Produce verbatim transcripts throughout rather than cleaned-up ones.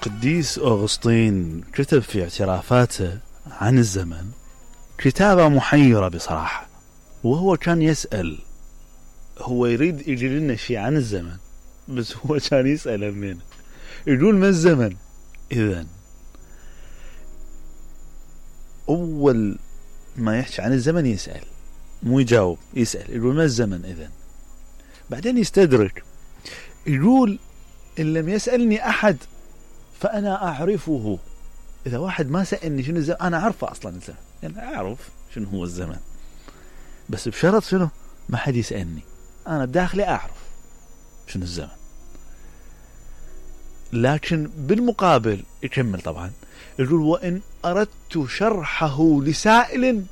القديس أغسطين كتب في اعترافاته عن الزمن كتابة محيرة بصراحة، وهو كان يسأل، هو يريد يجي لنا شيء عن الزمن، بس هو كان يسأل همين يقول ما الزمن؟ إذن أول ما يحكي عن الزمن يسأل، مو يجاوب، يسأل يقول ما الزمن؟ إذن بعدين يستدرك يقول إن لم يسألني أحد فأنا أعرفه. إذا واحد ما سألني شنو الزمن أنا أعرفه أصلا الزمن، يعني أعرف شنو هو الزمن، بس بشرط شنو؟ ما حد يسألني، أنا بداخلي أعرف شنو الزمن. لكن بالمقابل يكمل طبعا يقول وإن أردت شرحه لسائل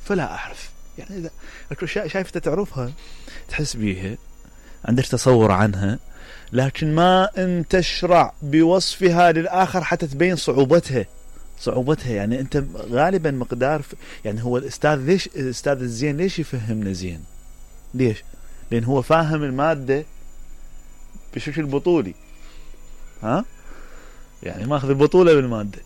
فلا أعرف. يعني إذا شايف تعرفها تحس بيها عندك تصور عنها، لكن ما أن تشرع بوصفها للآخر حتى تبين صعوبتها صعوبتها يعني أنت غالبا مقدار يعني هو الأستاذ ليش الأستاذ الزين ليش يفهمنا زين؟ ليش؟ لأن هو فاهم المادة بشكل بطولي، ها؟ يعني ماخذ البطولة بالمادة،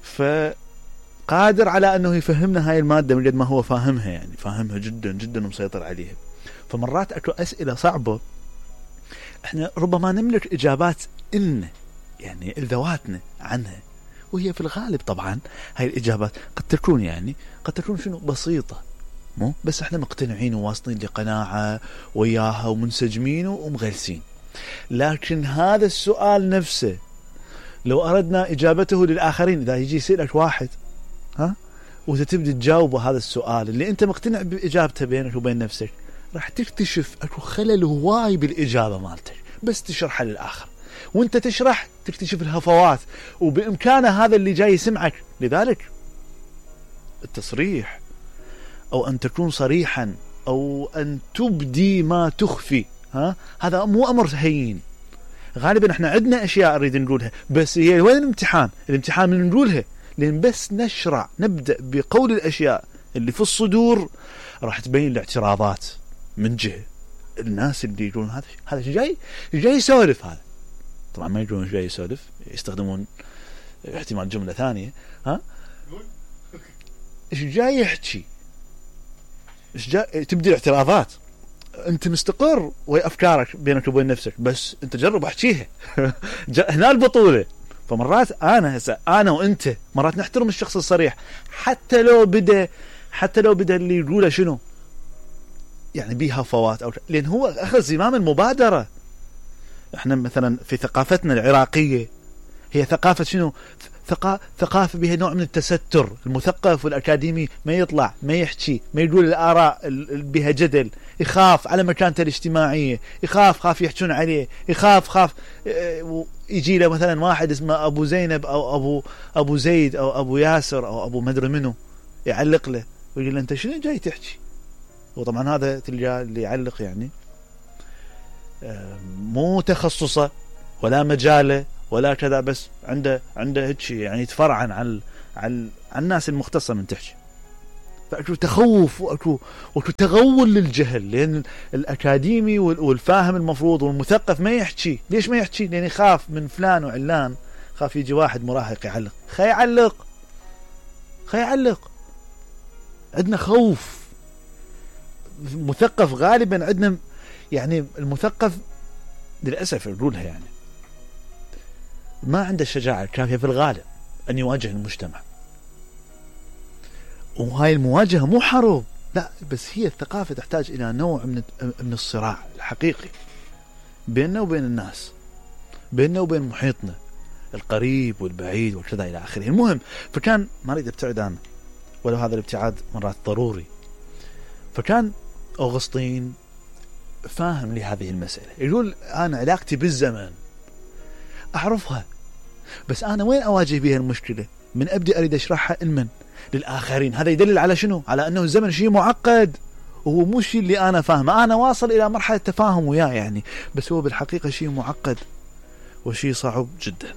فقادر على أنه يفهمنا هاي المادة من قد ما هو فاهمها، يعني فاهمها جدا جدا ومسيطر عليها. فمرات أكو أسئلة صعبة احنا ربما نملك إجابات إن يعني ذواتنا عنها، وهي في الغالب طبعا هاي الإجابات قد تكون يعني قد تكون شنو بسيطة، مو بس احنا مقتنعين وواصلين لقناعة وياها ومنسجمين ومغلسين. لكن هذا السؤال نفسه لو أردنا إجابته للآخرين، إذا يجي يسألك واحد ها وتبدأ تجاوبه هذا السؤال اللي أنت مقتنع بإجابته بينك وبين نفسك، راح تكتشف أكو خلل هواي بالإجابة مالتك بس تشرحها للآخر، وانت تشرح تكتشف الهفوات، وبإمكانه هذا اللي جاي يسمعك. لذلك التصريح أو أن تكون صريحا أو أن تبدي ما تخفي، ها هذا مو أمر هين. غالبا احنا عندنا أشياء نريد نقولها، بس هي وين الامتحان؟ الامتحان من نقولها، لأن بس نشرع نبدأ بقول الأشياء اللي في الصدور راح تبين الاعتراضات من جهة الناس اللي يقولون هذا هذا جاي جاي يسولف. هذا طبعا ما يقولون جاي يسولف، يستخدمون احتمال جملة ثانية، ها ايش جاي يحكي، ايش جاي تبدي الاعتراضات. انت مستقر وهي افكارك بينك وبين نفسك، بس انت جرب احكيها هنا البطولة. فمرات انا هسه انا وانت مرات نحترم الشخص الصريح حتى لو بدا حتى لو بدا اللي يقوله شنو يعني بيها فوات، أو لأن هو أخذ زمام المبادرة. احنا مثلا في ثقافتنا العراقية هي ثقافة شنو؟ ثقا... ثقافة بها نوع من التستر. المثقف والأكاديمي ما يطلع ما يحكي ما يقول الآراء بها جدل، يخاف على مكانته الاجتماعية، يخاف خاف يحجون عليه، يخاف خاف يجي له مثلا واحد اسمه أبو زينب أو أبو أبو زيد أو أبو ياسر أو أبو مدري منه يعلق له ويقول له أنت شنو جاي تحكي؟ وطبعا هذا تلقى اللي يعلق يعني مو تخصصه ولا مجاله ولا كذا، بس عنده عنده هيك يعني يتفرعن عن عن عن الناس المختصة من تحكي. فأكو تخوف وأكو وأكو تغول للجهل، لأن الأكاديمي والفاهم المفروض والمثقف ما يحكي. ليش ما يحكي؟ لأن يخاف من فلان وعلان، خاف يجي واحد مراهق يعلق، خي يعلق خي يعلق. عندنا خوف. مثقف غالبا عندنا يعني المثقف للأسف نقولها يعني ما عنده الشجاعة الكافية في الغالب أن يواجه المجتمع. وهاي المواجهة مو حرب، لا، بس هي الثقافة تحتاج إلى نوع من من الصراع الحقيقي بيننا وبين الناس، بيننا وبين محيطنا القريب والبعيد وكذا إلى آخره. المهم فكان ما أريد أبتعد عنه ولو هذا الابتعاد مرات ضروري. فكان أغسطين فاهم لهذه المسألة، يقول أنا علاقتي بالزمن أعرفها، بس أنا وين أواجه بها المشكلة؟ من أبدأ أريد أشرحها لمن؟ للآخرين. هذا يدلل على شنو؟ على أنه الزمن شيء معقد وهو مو شيء اللي أنا فاهمه. أنا واصل إلى مرحلة تفاهم وياه يعني، بس هو بالحقيقة شيء معقد وشيء صعب جدا.